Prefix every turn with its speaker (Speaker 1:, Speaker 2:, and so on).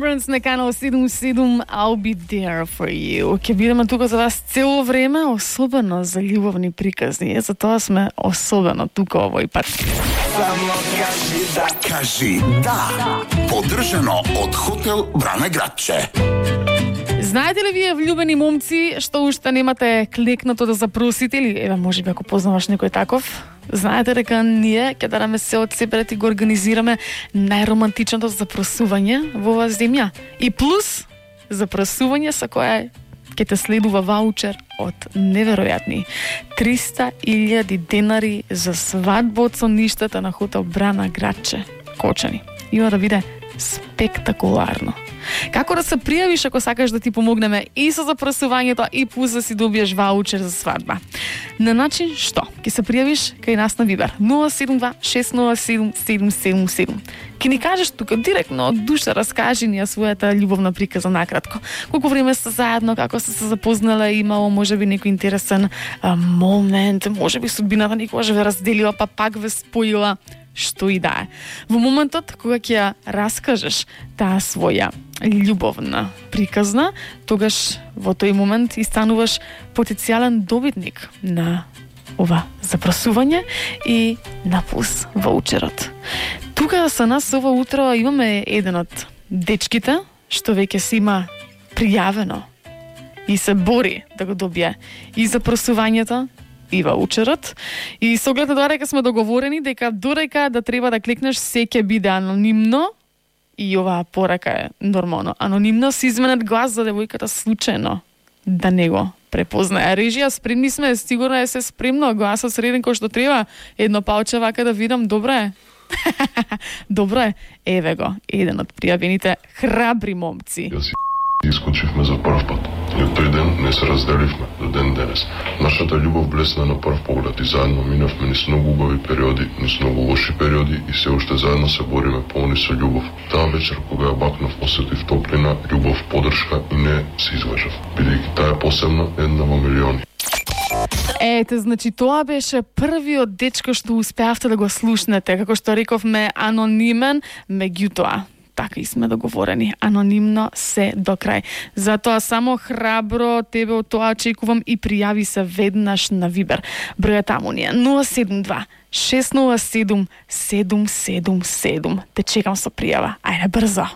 Speaker 1: Lawrence на канал 77, I'll be there for you. Ке бидеме тука за вас цело време, особено за љубовни приказни. Затоа сме особено тука овој пат.
Speaker 2: Само кажи да. Поддржано од хотел Бране Градче.
Speaker 1: Знаете ли вие влюбени момци што уште немате клекнато да запросите или еве можеби ако познаваш некој таков? Знаете дека ние ќе дараме се од себе да ти го организираме најромантичното запросување во оваа земја. И плюс запросување со кое ќе те следува ваучер од неверојатни 300.000 денари за свадба од сонништата на хотел Брана Градче, Кочани. Има да биде спектакуларно. Како да се пријавиш ако сакаш да ти помогнеме и со запросувањето и плюс да си добиеш ваучер за свадба? На начин што? Ке се пријавиш кај нас на Вибер 072 607 777. Ке ни кажеш тука директно од душа, раскажи ни својата љубовна приказа накратко. Колку време сте заедно, како сте се запознале, имало можеби некој интересен момент, можеби судбината никогаш ве разделила па пак ве споила, што и да е. Во моментот кога ќе раскажеш таа своја љубовна приказна, тогаш во тој момент и стануваш потенцијален добитник на ова запросување и на плюс ваучерот. Тука со нас ова утро имаме еден од дечките што веќе си има пријавено и се бори да го добие и запросувањето и ваучерот. И со оглед на тоа дека сме договорени дека додека да треба да клекнеш се ќе биде анонимно и оваа порака е нормално. Анонимно се изменет глас за девојката случајно да не го препознае. Режија, спремни сме, сигурно е се спремно, гласот среден кој што треба. Едно палче вака да видам, добро е. Добро е. Еве го, еден од пријавените храбри момци.
Speaker 3: Искочивме за прв пат. И од тој ден не се разделивме до ден денес. Нашата љубов блесна на прв поглед и заедно минавме низ многу убави периоди, низ многу лоши периоди и се уште заедно се бориме полни со љубов. Таа вечер кога ја бакнав, осетив топлина, љубов, поддршка и не се излажав, бидејќи таа е посебна, една во милиони.
Speaker 1: Ете, значи тоа беше првиот дечко што успеавте да го слушнете, како што рековме, анонимен, меѓутоа така и сме договорени. Анонимно се до крај. Затоа само храбро тебе од тоа очекувам и пријави се веднаш на Вибер. Бројот таму ни е 072 607 777. Те чекам со пријава. Ајде брзо.